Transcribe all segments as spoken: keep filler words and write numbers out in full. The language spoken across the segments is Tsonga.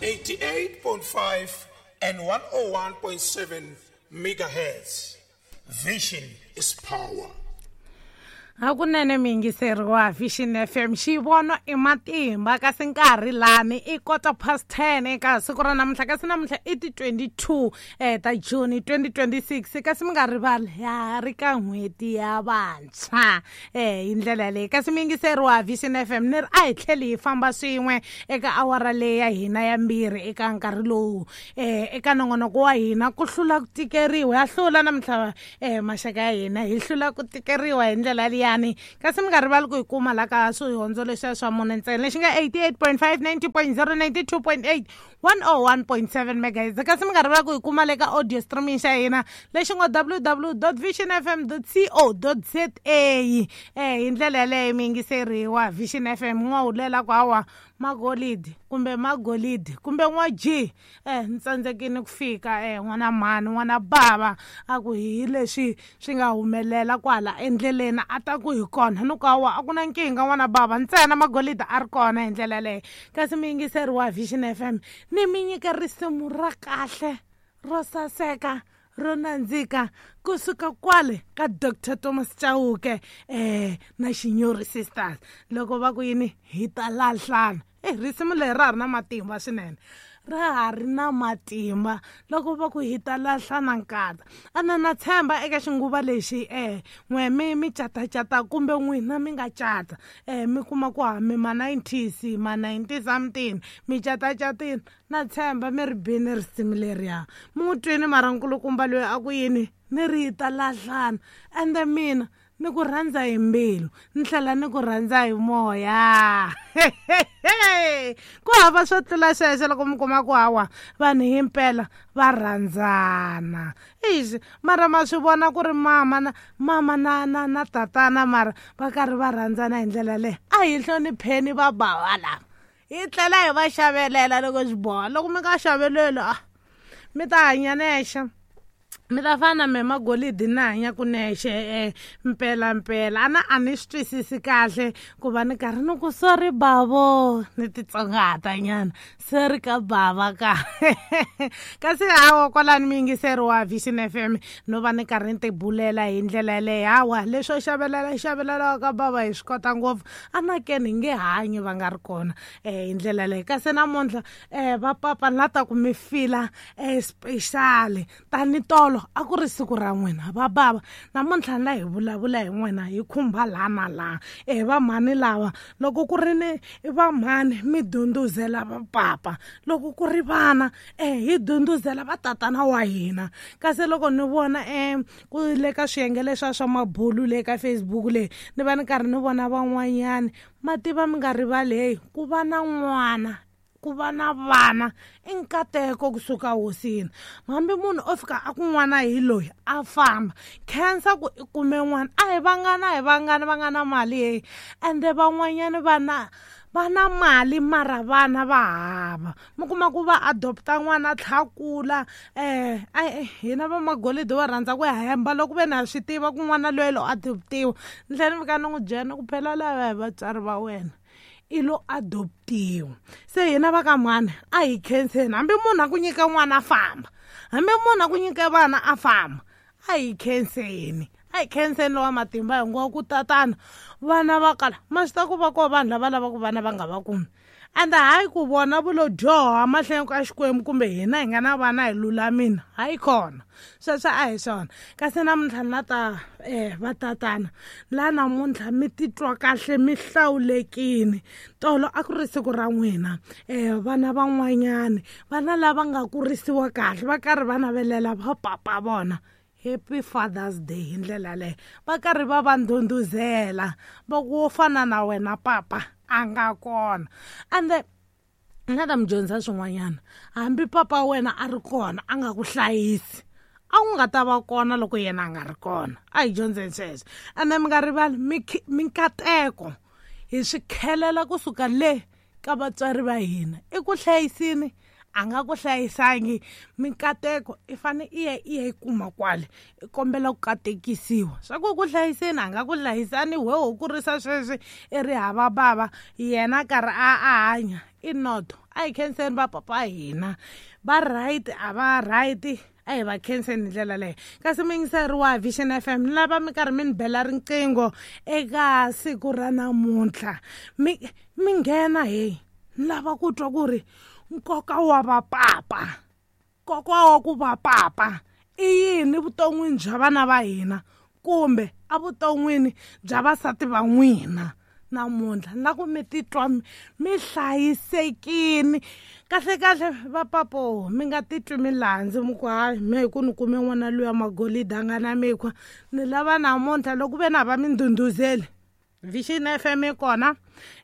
eighty-eight point five and one oh one point seven megahertz. Vision is power. Hakunene miyingiseri wa Vision F M xivono i matimba kasi nkarhi lani i quarter past ten eka siku ra namuntlha kasi namuntlha i ti twenty-two eh ta June twenty twenty-six kasi mi nga rivali ya ri ka n'hweti ya vantshwa eh hi ndlela leyi kasi miyingiseri wa Vision F M ni ri a hi tlheli hi famba swin'we eka awara leyi ya hina ya mbirhi eka nkarhi lowu eh eka nongonoko wa hina ku hlula ku tikeriwa ya hlula namuntlha eh maxaka ya hina hi hlula ku tikeriwa hi ndlela leyi yani kasi mi nga rivali ku hi kuma la ka swihondzo leswiya swa mune ntsena lexi nga eighty-eight point five, ninety point zero, ninety-two point eight, one oh one point seven megahertz kasi mi nga rivali ku hi kuma le ka audio streaming xa hina lexi ngo w w w dot vision f m dot co dot z a eh hi ndlela yaleyo mi yingiseriwa Vision F M n'wa hulela ku hawa magolidi kumbe magolidi kumbe n'wa G eh ni tsandzekile ku fika eh n'wana mhani n'wana bava a ku hi leswi swi nga humelela kwala endleleni a ta ku hi kona ni ku hawa a ku na nkingha n'wana bava ntsena magolidi a ri kona hi ndlela leyo kasi mi yingiseriwa Vision F M ni mi nyika risimu ra kahle ro saseka ro nandzika kusuka kwale ka Doctor Thomas Chauke eh na Shinyori Sisters loko va ku yini hi ta lahlana eh risimu leri ra ha ri na matimba swinene ra ha ri na matimba loko va ku hi ta lahlana nkata ana na tshemba eka xinguva lexi eh n'we mi mi catacata kumbe n'wina mi nga cata eh mi kuma ku ha mi ma nineties ma ninety something mi catacatini na tshemba mi ri bini risimu leriya mi n'wi twini mara nkulukumba loyi a ku yini ni ri hi ta lahlana ende mina ni ku rhandza hi mbilu ni tlhela ni ku rhandza hi moya ku hava swo tlula sweswo loko mi kuma ku hawa vanhu himpela va rhandzana ixi mara ma swi vona ku ri mama na mama na na na tatana mara va karhi va rhandzana hi ndlela leyi a hi hlonipheni va bava lava hi tlhela hi va xavelela loko swi boha loko mi nga xaveleli a mi ta hanya nexe mi ta fana me magolidi na hanya ku nexe eh mpela mpela ana a ni swi twisisi kahle ku va ni karhi ni ku sorry bavo ni titsongahata nyana sorry ka bava ka kasi hawa kwalani mi yingiseri wa Vision F M no va ni karhi ni tibulela hi ndlela yaleyo hawa leswo xavelela xavelela ka bava hi swi kota ngopfu anakeni hi nge hanyi va nga ri kona eh hi ndlela leyi kasi namuntlha eh va papa ni la ta ku mi fila eh special tani tolo a ku ri siku ra n'wina va bava namuntlha ni la hi vulavula hi n'wina hi khumba laha na laha eh va mhani lava loko ku ri ni va mhani mi dunduzela va papa loko ku ri vana eh hi dunduzela va tatana wa hina kasi loko ni vona eh ku le ka swiyenge leswa swa mabulu le ka Facebook le ni va ni karhi ni vona van'wanyani mativa mi nga rivali hey ku va na n'wana ku va na vana i nkateko kusuka hosini hambi munhu o fika a ku n'wana hi loyi a famba khensa ku i kume n'wana a hi vangana a hi vangani va nga na mali heyi ende van'wanyani vana va na mali mara vana va hava mi kuma ku va adopta n'wana a tlha kula eh hina va magolidi va rhandza ku hemba loko ve na swi tiva ku n'wana loyi lo adoptiwa ni tlhela ni fika ni n'wi byela ni ku phela lava hi vatswari va wena i lo adoptiwa se hina va ka mhani a hi khenseni hambi munhu a ku nyika n'wana a famba hambi munhu a ku nyika vana a famba a hi khenseni a hi khenseni lowa matimba hinkwawo ku tatana vana va kala ma swi ta ku va ko vanhu lava lavaka vana va nga va kumi ende hayi ku vona vulo dyoha mahlweni ka Xikwembu kumbe hina hi nga na vana hi lulamile hayi kona sweswo a hi swona kasi namuntlha ni la ta eh va tatana la namuntlha mi titwa kahle mi hlawulekile tolo a ku ri siku ra n'wina eh vana van'wanyani vana lava nga kurisiwa kahle va karhi va navelela va papa vona Happy Father's Day hi ndlela leyo va karhi va va ndhundhuzela va ku wo fana na wena papa a nga kona ende ni nga ta mi dyondzisa swin'wanyana hambi papa wena a ri kona a nga ku hlayisi a wu nga ta va kona loko yena a nga ri kona a hi dyondzeni sweswo ende mi nga rivali minkateko hi swi khelela kusuka le ka vatswari va hina i ku hlayisini a nga ku hlayisangi minkateko i fane i ya i ya yi kuma kwale i kombela ku katekisiwa swa ku ku hlayiseni a nga ku hlayisani we ho kurisa sweswi i ri hava bava yena karhi a a hanya i noto. A hi khenseni va papa hina va right a va right a hi va khenseni hi ndlela leyo. Kasi muyingiseri wa Vision F M ni lava mi karhi mi ni bela riqingho eka siku ra namuntlha mi mi nghena he ni lava ku twa ku ri nkoka wa vapapa nkoka wa ku va papa i yini vuton'wini bya vana va hina kumbe evuton'wini bya vasati va n'wina namuntlha na ku mi titwa mi hlayisekini kahle kahle vapapo mi nga titwi mi landzi mi ku hayi me hi ku ni kume n'wana luya magolide a nga na mikhwa ni lava namuntlha loko ve na va mi ndhundhuzeli Vision F M yi kona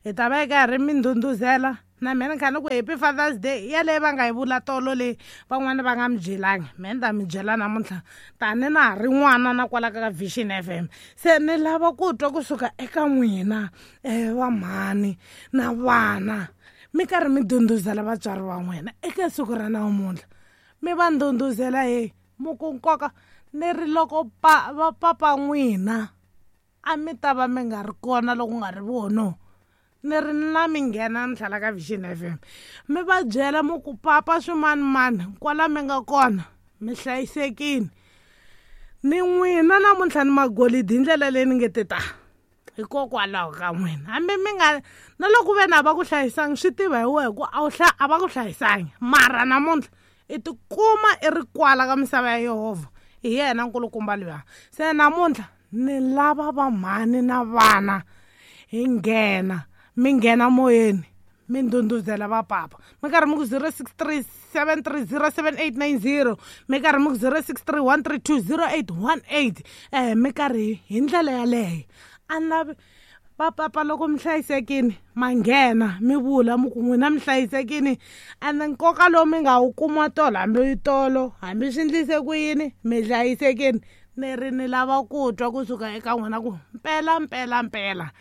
hi ta va yi karhi mi ndhundhuzela na mina ni kha ni ku Happy Father's Day yaleyi va nga yi vula tolo leyi van'wani va nga mi byelangi me ni ta mi byela namuntlha tani na ha ri n'wana na kwala ka Vision F M. Se ni lava ku twa kusuka eka n'wina um va mhani na vana mi karhi mi ndhundhuzela vatswari va n'wina eka siku ra namuntlha mi va ndhundhuzela he mu ku nkoka ni ri loko pa va papa n'wina a mi ta va mi nga ri kona loko nga ri vono ni ri na mi nghena ni tlhela ka Vision F M mi va byela mi ku papa swimanimani kwala mi nga kona mi hlayisekile ni n'wina namuntlha ni magolidi hi ndlela leyi ni nge te ta hikokwalaho ka n'wina hambi mi nga na loko ve na va ku hlayisangi swi tiva hi wehe ku a wu a va ku hlayisangi mara namuntlha i tikuma i ri kwala ka misava ya Yehovha hi yena nkulukumba luya. Se namuntlha ni lava va mhani na vana hi nghena mi nghena moyeni mi ndhundhuzela vapapa mi karhi mi ku zero six three seven three zero seven eight nine zero mi karhi mi ku zero six three one three two zero eight one eight eh mi karhi hi ndlela yaleyo a ni lavi vapapa loko mi hlayisekini ma nghena mi vula mi ku n'wina mi hlayisekini ende nkoka lowu mi nga wu kuma tolo hambi tolo hambi swi endlise ku yini mi hlayisekini ni ri ni lava ku twa kusuka eka n'wina ku mpela mpela mpela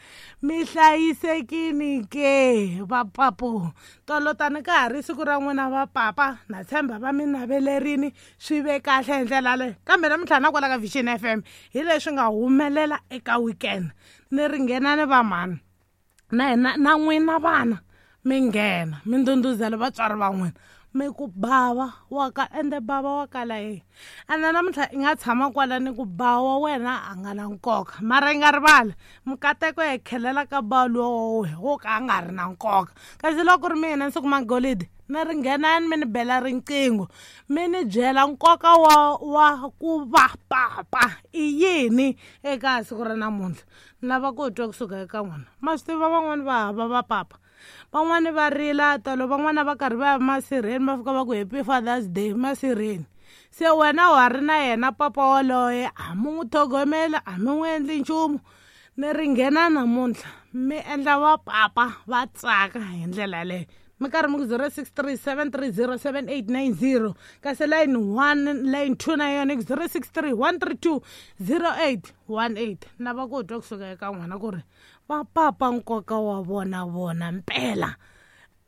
mi hlayisekini ke vapapo tolo tani ka ha ri siku ra n'wina vapapa na tshemba va mi navelerini swi ve kahle hi ndlela leyo kambe namuntlha na kwala ka Vision F M hi leswi nga humelela eka weekend ni ri nghena ni va mhani na hina na n'wina vana mi nghena mi ndhundhuzela vatswari va n'wina mi ku bava wa ka ende bava wa kala ye ende namuntlha i nga tshama kwala ni ku bawa wena a nga na nkoka mara i nga rivali mikateko ya khelela ka bawa lowo wo ka a nga ri na nkoka kasi loko ri mina ni siku magolide ni ri nghenani mi ni bela riqingho mi ni byela nkoka wa wa ku va papa i yini eka siku ra namuntlha ni lava ku twa kusuka eka n'wina ma swi tiva van'wani va hava va papa van'wani va rila tolo van'wana va karhi va ya masirheni va fika va ku Happy Father's Day masirheni se wena wa ri na yena papa waloye a mi n'wi tlhogomela a mi n'wi endli nchumu ni ri nghena namuntlha mi endla vapapa va tsaka hi ndlela yaleyo mi karhi mi ku zero six three seven three zero seven eight nine zero kasi line one line two na yona ku zero six three one three two zero eight one eight lava ku twa kusuka eka n'wina ku ri vapapa nkoka wa vona vona mpela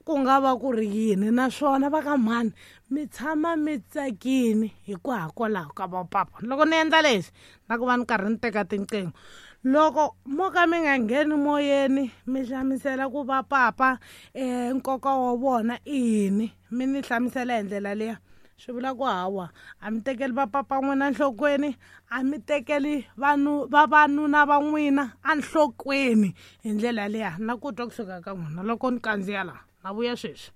ku nga va ku ri yini naswona va ka mhani mi tshama mi tsakini hikwalaho ka vapapa loko ni endla leswi na ku va ni karhi ni teka tinqingho loko mo ka mi nga ngheni moyeni mi hlamusela ku va papa um nkoka wa vona i yini mi ni hlamusela hi ndlela liya swi vula ku hawa a mi tekeli vapapa n'wina enhlokweni a mi tekeli vanhu vavanuna va n'wina enhlokweni hi ndlela liya na ku twa kusuka ka n'wina loko ni kandziya laha na vuya sweswi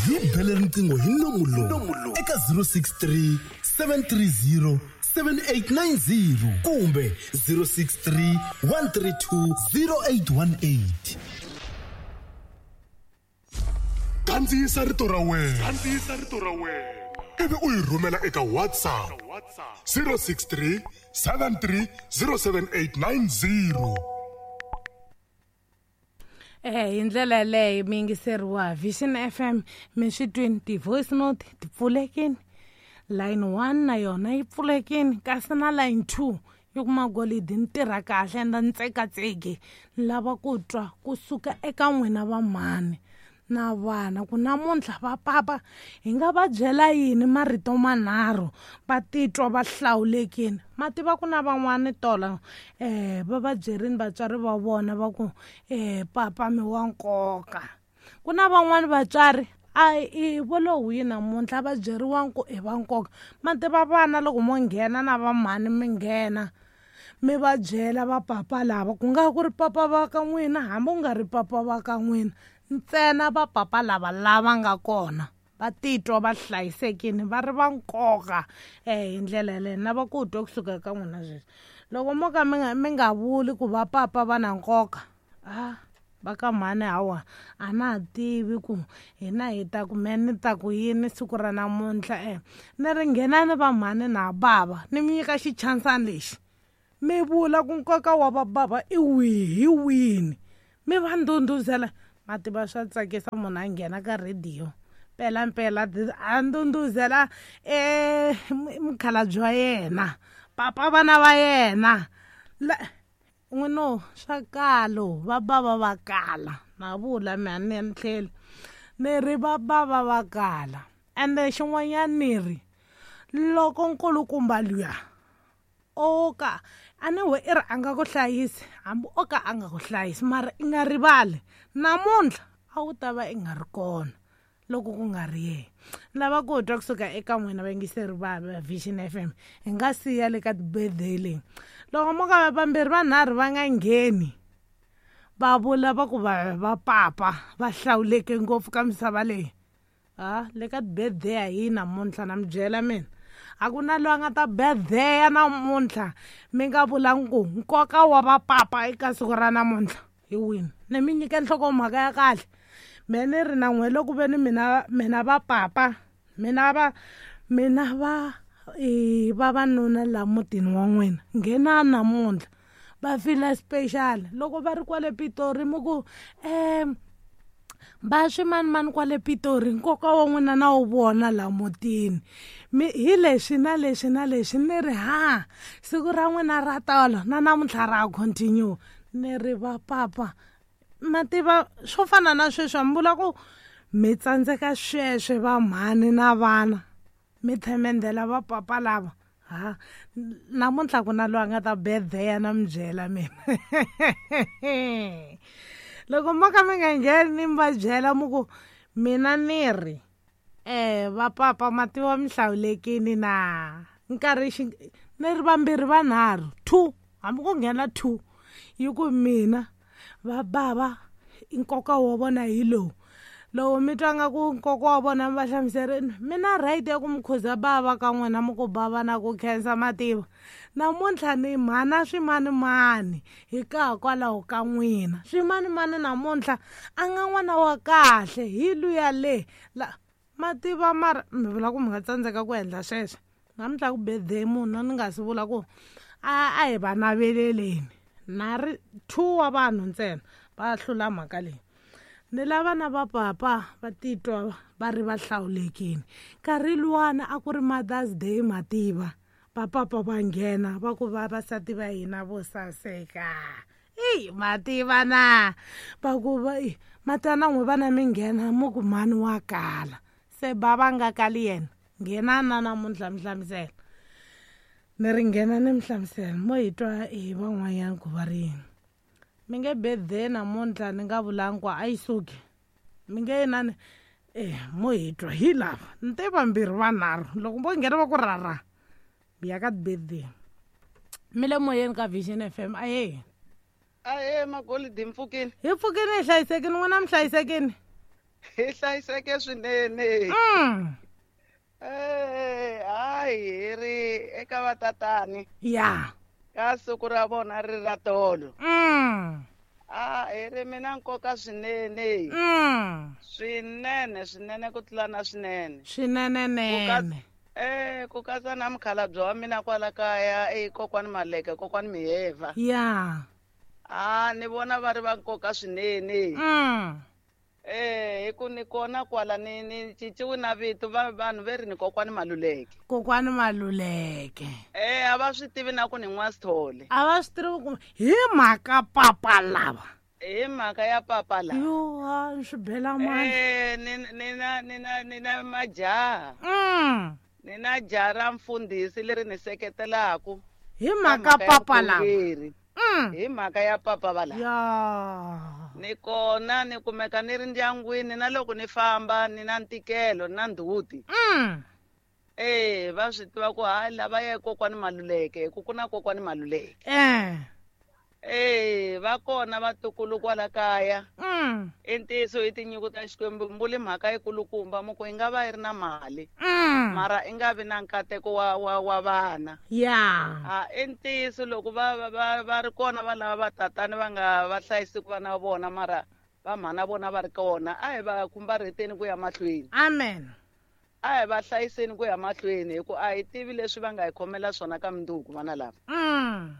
hi bele riqingho hi nomu lowu eka zero six three seven three zero seven eight nine zero kumbe zero six three one three two zero eight one eight. Kandziyisa rito ra wena kandziyisa rito ra wena ivi u yi rhumela eka WhatsApp zero six three seven three zero seven eight nine zero. Eh hi ndlela yaleyo mi yingiseriwa Vision F M mi swi twini ti-voice note ti pfulekini line one na yona yi pfulekini kasi na line two yi kuma golidi ni tirha kahle ende ni tsekatseki ni lava ku twa kusuka eka n'wina va mhani na vana ku namuntlha va papa hi nga va byela yini marito manharhu va titwa va hlawulekile. Ma tiva ku na van'wani tolo eh va va byerini vatswari va vona va ku eh papa mi wa nkoka. Ku na van'wani vatswari a i volo wihi namuntlha va byeriwa ku i va nkoka. Ma tiva vana loko mo nghena na va mhani mi nghena mi va byela va papa lava ku nga ku ri papa va ka n'wina hambi ku nga ri papa va ka n'wina ntsena va papa lava lava nga kona va titwa va hlayisekile va ri va nkoka eh hi ndlela yaleyo. Na va ku twa kusuka ka n'wina sweswi loko mo ka mi nga mi nga vuli ku va papa va na nkoka ah va ka mhani hawa a na ha tivi ku hina hi ta ku me ni ta ku yini siku ra namuntlha eh ni ri nghenani va mhani na bava ni mi nyika xichansani lexi mi vula ku nkoka wa va bava i wihi hi wini mi va ndhundhuzela. Ma tiva swa tsakisa munhu a nghena ka rhediyo mpela mpela a ndhundhuzela eh mukhalabye wa yena papa vana va yena n'wino swa kalo va bava va kala na vula mi a ni ni tlheli ni ri va bava va kala. Ende xin'wanyana ni ri loko nkulukumba luya o ka a ni we i ri a nga ku hlayisi hambi o ka a nga ku hlayisi mara i nga rivali namuntlha a wu ta va i nga ri kona loko ku nga ri yena. Lava ku twa kusuka eka n'wina vayingiseri va Vision F M hi nga siya le ka ti-birthday leyi loko mo ka vambirhi vanharhu va nga ngheni va vula va ku va va papa va hlawuleke ngopfu ka misava leyi ah le ka ti-birthday a yi namuntlha na mi byela mina a ku na loyi a nga ta birthday namuntlha mi nga vulangi ku nkoka wa va papa eka siku ra namuntlha hi wini. Ni mi nyike nhlokomhaka ya kahle me ni ri na n'we loko ve ni mina mina va papa mina va mina va e vavanuna la mutini wa n'wina nghena namuntlha va fila special loko va ri kwale Pitori mi ku em va swimanimani kwale Pitori nkoka wa n'wina na wu vona la mutini mi hi leswi na leswi na leswi ni ri ha siku ra n'wina ra tolo na namuntlha ra continue ni ri va papa. Ma tiva swo fana na sweswi mi vula ku mi tsandzeka sweswe va mhani na vana mi themendela va papa lava ha namuntlha ku na loyi a nga ta birthday na mi byela mina loko mo ka mi nga ngheni ni mi va byela mi ku mina ni ri eh va papa ma tiva mi hlawulekile na nkarhi xi ni ri vambirhi vanharhu two hambi ku nghena two yi ku mina va bava nkoka wa vona hi lowu loko mi twa nga ku nkoka wa vona mi va hlamuserini mi na right ya ku mi khuza bava ka n'wina mi ku bava na ku khensa mativa namuntlha ni mhana swimanimani hi ka kwalaho ka n'wina swimanimani namuntlha a nga n'wana wa kahle hi luya le la mativa mara mi vula ku mi nga tsandzeka ku endla sweswo namuntlha ku birthday munhu ni nga si vula ku a a hi va naveleleni na ri two wa vanhu ntsena va hlula mhaka leyi. Ni lava na va papa va titwa va ri va hlawulekile nkarhi luwana a ku ri Mother's Day mativa va papa va nghena va ku vavasati va hina vo saseka eyi mativa na va ku va matana n'we vana mi nghena mo ku mhani wa kala se bava nga kali yena nghena na namuntlha mi hlamusela ni ri nghena ni mi hlamusela mo hi twa hi van'wanyana ku va ri yini mi nge birthday namuntlha ni nga vulangi ku a yi suki mi nge inani eh mo hi twa hi lava ni te vambirhi vanharhu loko vo nghena va ku rara mi ya ka ti-birthday mi le moyeni ka Vision F M aye aye magolidi hi pfukini hi pfukini hi hlayisekini n'wina mi hlayisekini hi hlayiseke swinene mm. eh hayi hi ri eka vatatani ya ka siku ra vona ri ra tolo mm. a hi ri mina nkoka swinene mm. swinene swinene ku tlula na swinene swinenenene eh ku katsa na mukhalabye wa mina kwala kaya e kokwani Maleke kokwani Miheva ya a ni vona va ri va nkoka swinene mm. eh hi ku ni kona kwala ni ni cinciwi na vito va vanhu ve ri ni kokwani Maluleke kokwani Maluleke eh a va swi tivi na ku ni n'wa Sithole a va swi tivi ku hi mhaka papa lava Hi mhaka ya papa la. Yo ha swi bela mani. Eh ni ni na ni na ni na majaha. Mm. Ni na jaha ra mfundhisi leri ni seketelaku. Hi mhaka papa la. Mm. Hi mhaka ya papa va la. Ya. Ni kona ni kumeka ni ri ndyangwini na loko ni famba ni na ntikelo na ndhuti. Mm. Eh va swi tiva ku hayi lava ya kokwani Maluleke ku ku na kokwani Maluleke. Eh. Eh va kona vatukulu kwala kaya. Mm. I ntiyiso i tinyiko ta Xikwembu mbuli mhaka yikulukumba muku yi nga va yi ri na mali. Mm. Mara i nga vi na nkateko wa wa wa vana. Ya. A i ntiyiso loko va va va ri kona va lava va tatani va nga va hlayisi ku vana va vona mara va mhana vona va ri kona a hi va khumbareteni ku ya mahlweni. Amen. A hi va hlayiseni ku ya mahlweni hi ku a hi tivi leswi va nga hi khomela swona ka mundzuku vana lava. Mm.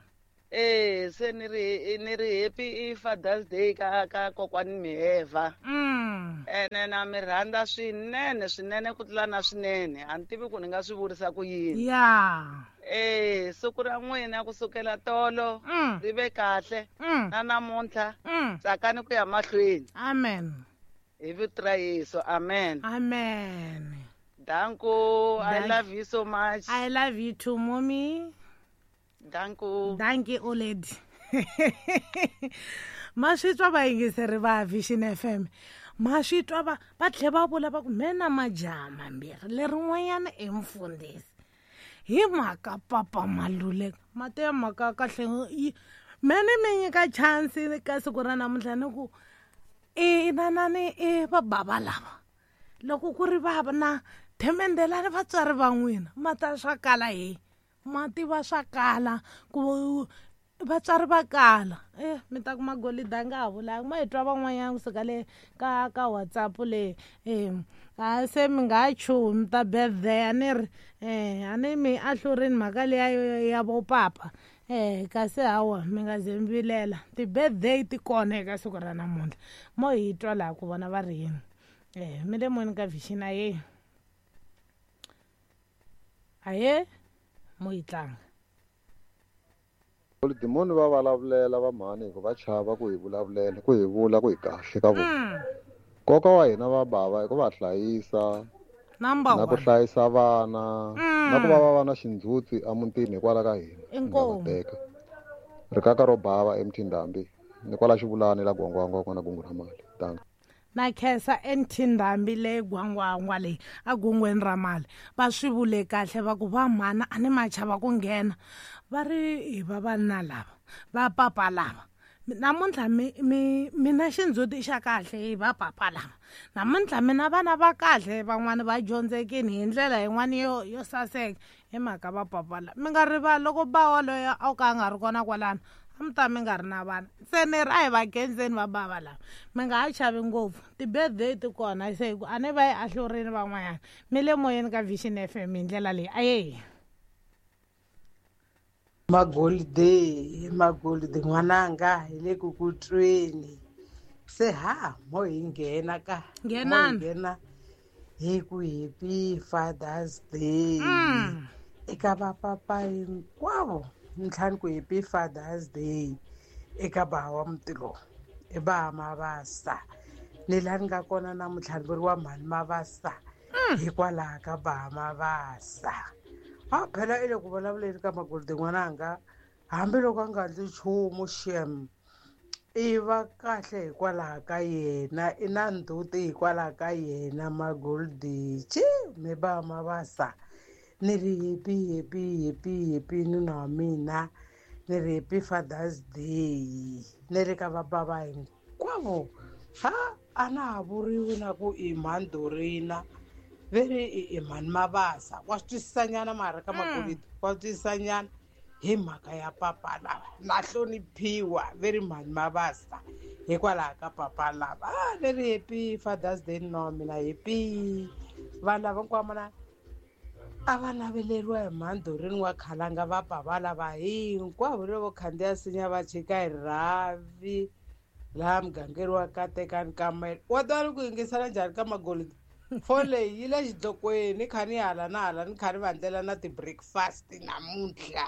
Eh se ni ri ni ri happy Father's Day ka ka kokwani Miheva. Mm. Ene na mi rhandza swinene swinene ku tlula na swinene a ni tivi ku ni nga swi vurisa ku yini. Ya. Eh siku ra n'wina kusukela tolo Mm. ri ve kahle Mm. na namuntlha Mm. tsakani ku ya mahlweni. Amen. Hi vito ra Yesu. Amen. Amen. Danko, I Dank- love you so much. I love you too, mommy. Danko. Thank you, old lady. Ma swi twa vayingiseri va Vision F M. Ma swi twa va va tlhe va vula va ku me na majaha mambirhi lerin'wanyana i mfundhisi. Hi mhaka papa Maluleke. Mati ya mhaka kahle me ni mi nyika chance ka siku ra namuntlha ni ku i nanani i va bava lava. Loko ku ri va na themendelani vatswari va n'wina ma ta swa kala hi. Ma tiva swa kala ku vatswari va kala eh mi ta kuma golide a nga ha vulanga ma hi twa van'wanyana kusuka le ka ka WhatsApp le eh a se mi nga ha chuhi mi ta birthday a ni ri eh a ni mi ahlurini mhaka liya ya vo papa eh kasi hawa mi nga ze mi vilela ti-birthday ti kona eka siku ra namuntlha mo hi twa laha ku vona va ri yini eh mi le moyeni ka Vision aye aye mo yi tlanga. Dimoni va vulavulela va mhani hi ku va chava ku hi vulavulela ku hi vula ku hi kahle ka vona. Nkoka wa hina va bava i ku va hlayisa Number na ku one. hlayisa vana na ku va va va na xindzhuti emutini hikwalaho ka hina Inkomu. teka rikaka ro bava eMthindambi ni kwala Xivulani la Gwangwangwa kona gungu ra mali. Danko. Na khensa eMthindambi leyi Gwangwangwa leyi a gungweni ra mali va swi vule kahle va ku va mhana a ni ma chava ku nghena va ri hi vavanuna lava va papa lava namuntlha mi mi mi na xindzhuti xa kahle hi va papa lava namuntlha mi na vana va kahle van'wani va dyondzekini hi ndlela yin'wani yo yo saseka hi mhaka va papa lava mi nga rivali loko ba waloyo a ka a nga ri kona kwalano a mi ta mi nga ri na vana se ni ri a hi va khenseni va bava lava mi nga ha chavi ngopfu ti-birthday ti kona se hi ku a ni va yi ahlurini van'wanyana mi le moyeni ka Vision F M hi ndlela leyi aye. Magolide magolide n'wananga hi le ku ku tweni se ha mo hi nghena ka Nghenani. mo hi nghena hi ku happy Father's Day Mm. eka vapapa hinkwavo ntlhanu ku happy Father's Day eka baha wa muti lowu i baha Mavasa ni laha ni nga kona namuntlha ni vuriwa mhani Mavasa hikwalaho ka baha Mavasa. A phela i le ku vulavuleni ka magolide n'wananga hambiloko a nga ndli nchumu xem i va kahle hikwalaho ka yena i na ndzhuti hikwalaho ka yena magolide chi mi ba Mavasa ni ri happy happy happy happy nuna wa mina ni ri happy Father's Day ni ri ka vabava hinkwavo ha a na ha vuriwi na ku i mhani Dorina ve ri i i mhani Mavasa wa swi twisisanyana mara ka magolide wa swi twisisanyana hi mhaka ya papa lava na hloniphiwa ve ri mhani Mavasa hikwalaho ka papa lava a ni ri happy Father's Day nuna wa mina happy vanhu lava hinkwavo na a va naveleriwa hi mhani Doreen wa Khalanga va bava lava hinkwavo loko khandziya sinya va chika hi rhavi laha mugangeni wa Katekani ka Mele wa tiva ni ku yingisela njhani ka magolide foni leyi yi le xidlokweni ni kha ni hala na hala ni kha ni va ndlela na ti-breakfast namuntlha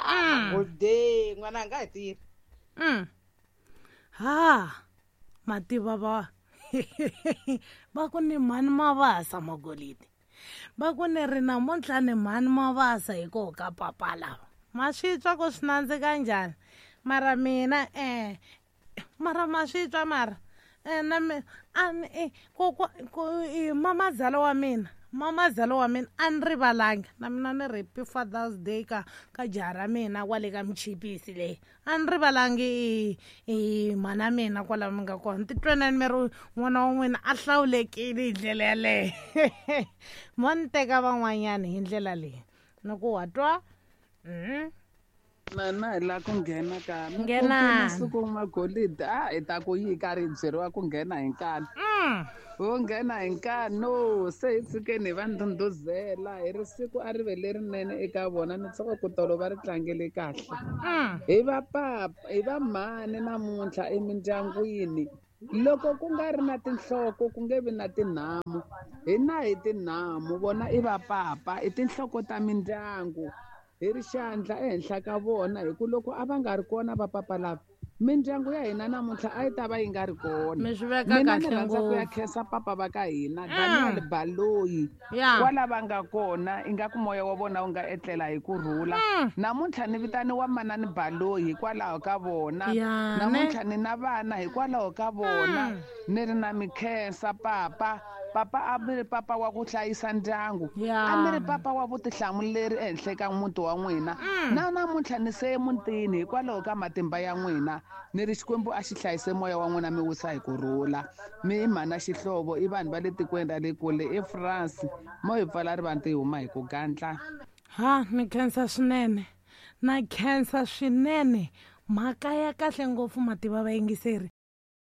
magolide n'wana a nga hi tirhi. Mm. Ha Mativa va va ku ni mhani Mavasa Magolidi, va ku ni ri namuntlha ni mhani Mavasa hikoho ka papa lava. Ma swi twa ku swi nandzika njhani? Mara mina eh mara ma swi twa mara eh na mi a ni ko ko mamazala wa mina mamazala wa mina a ni rivalanga na mina ni ri happy Father's Day ka ka jaha ra mina kwale ka Michipisi leyi a ni rivalangi i mhana mina kwala mi nga kona. Titwenani mi ri n'wana wa n'wina a hlawulekile hi ndlela yaleyo. Mo ni teka van'wanyani hi ndlela leyi ni ku wa twa. Mm. Na na hi la ku nghena ka Nghena. Siku Magolidi a hi ta ku yi karhi hi byeriwa ku nghena hi nkani. Ho nghena hi nkani no se hi tshikeni hi va ndhundhuzela hi ri siku a ri ve lerinene eka vona ni tsaka ku tolo va ri tlangele kahle. Hi va papa hi va mhani namuntlha emindyangwini loko ku nga ri na tinhloko ku nge vi na tinhamu hina hi tinhamu vona i va papa i tinhloko ta mindyangu. Hi ri xandla ehenhla ka vona hi ku loko a va nga ri kona va papa lava mindyangu ya hina namuntlha a yi ta va yi nga ri kona. Mi swi veka Mina ni kahle rhandza ku ya ngopfu. khensa papa va ka hina Daniel Baloyi kwala va nga kona ingaku moya wa vona wu nga etlela hi ku rhula. Namuntlha ni vitaniwa manani Baloyi hikwalaho ka vona. Ya, ne. Namuntlha ni na vana hikwalaho ka vona. Ni ri na mikhensa papa. Papa a mi ri papa wa ku hlayisa ndyangu. Ya. A mi ri papa wa vutihlamuleri ehenhla ka muti wa n'wina. Na namuntlha ni se emutini hikwalaho ka matimba ya n'wina. Ni ri Xikwembu a xi hlayise moya wa n'wina mi wisa hi ku rhula. Mi i mhana Xihlovo i vanhu va le tikweni ra le kule eFrance. Mo hi pfala rivanti hi huma hi ku gandla. Ha ni khensa swinene. Na khensa swinene. Mhaka ya kahle ngopfu mativa vayingiseri.